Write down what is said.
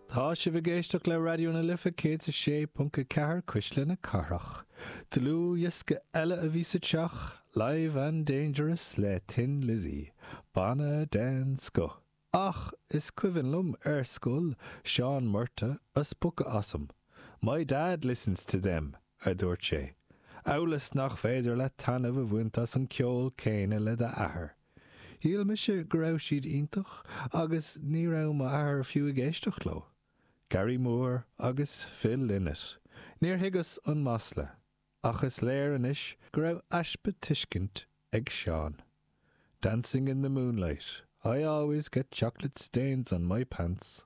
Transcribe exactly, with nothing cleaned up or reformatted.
Tá sibh ag éisteacht le Raidió na Life céad a sé ponc a ceathair Cuisle na Cathrach. Dlúthdhiosca eile a bhí sa teach, Live and Dangerous le Thin Lizzy, Banna den scoth. Ach is cuimhin liom ar scoil Seán Murtagh ag spochadh asam. My dad listens to them, a dúirt sé. Amhail is nach féidir leat taitneamh a bhaint as an ceol céanna le d'athair. Shíl mise go raibh siad iontach agus ní raibh m'athair fiú ag éisteacht leo. Gary Moore agus Phil Lynott. Níor thuigeas an masla, ach is léir anois go raibh easpa tuiscint ag Seán. Dancing in the moonlight, I always get chocolate stains on my pants.